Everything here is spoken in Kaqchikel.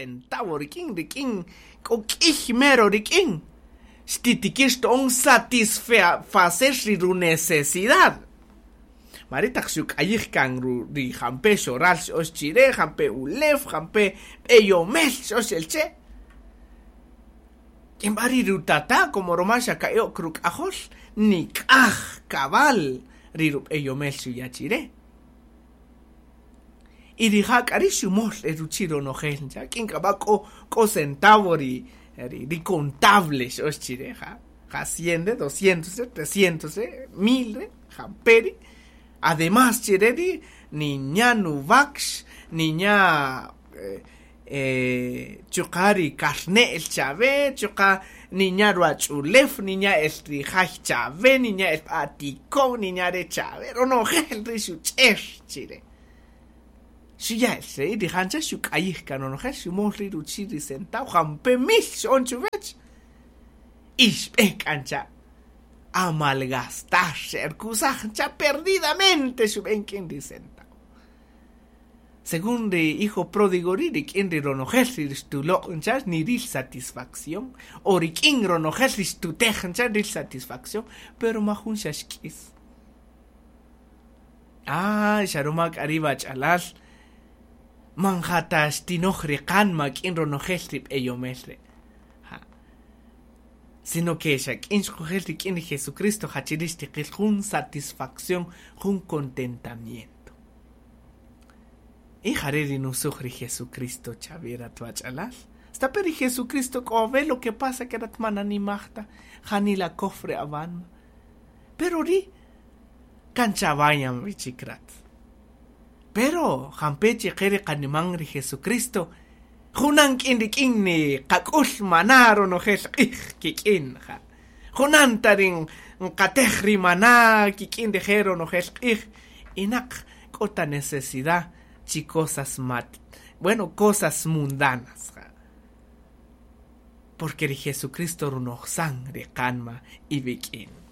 centavo rik'in rik'in k'o k'ïy mero rik'in xtitikïr xto'on satisfacer ri ru-necesidad. Mari taq xuk'ayij kan ri jampe xoral xöx chi re, jampe ulew, jampe b'eyomel xöx el che'. K'in b'a ri rutata' como ruma xa ka'i' ok ruk'ajol, nik'aj kab'al ri rub'eyomel xuya' chi re. Y rija' k'a ri' xumöl el ruchi' ronojel ncha', k'in k'a b'a k'o k'o centavo ri ri contable xöx chi re, ja ja cien re', doscientos re', trescientos re', mil re', jampe ri'. Además chi re ri' ninya' nuwakx, ninya' chuqa' ri karne'l chawe, chuqa' ninya' ruwach'ulew, ninya' el ri jay chawe, ninya' el atiko'n, ninya' re chawe, ronojel ri xuch'er chi re. Xuya' el re' rija' ncha' xuk'ayij kan ronojel, xumöl ri' ruchi' ri centavo, jampe mil x'on chuwäch. Y xb'e k'a ncha' a malgastar, xe'erkusaj ncha' perdidamente xub'en k'in ri centavo. Según ri hijo pródigo ri' rik'in ri ronojel ri xtuloq' ncha' niril satisfacción, o rik'in ronojel ri xtutej ncha' nril satisfacción, pero majun xa xk'is. Ah, xa ruma k'a ri' wach'alal, man ja ta xtinoj ri qanma k'in ronojel ri b'eyomel re'. Ja. Sino que xa k'in xkujel rik'in ri Jesucristo ja chi ri' xtiqil jun satisfacción, jun contentamiento. Y jare' ri nusuj ri Jesucristo chawe rat wach'alal. Stape' ri Jesucristo k'o awe' lo que pasa que rat man nanimaj ta, janila kow ri awanma. Pero ri' kan chawayan wi chik rat. Pero jampe' chi qe ri qaniman ri Jesucristo, junan k'in rik'in ni qak'ul maná ronojel q'ij kik'in, ja. Junan ta ri nqatej ri maná kik'in rije' ronojel q'ij, y naq k'o ta necesidad chi cosas mat, bueno, cosas mundanas, ja. Porque ri Jesucristo runojsan ri qanma iwik'in.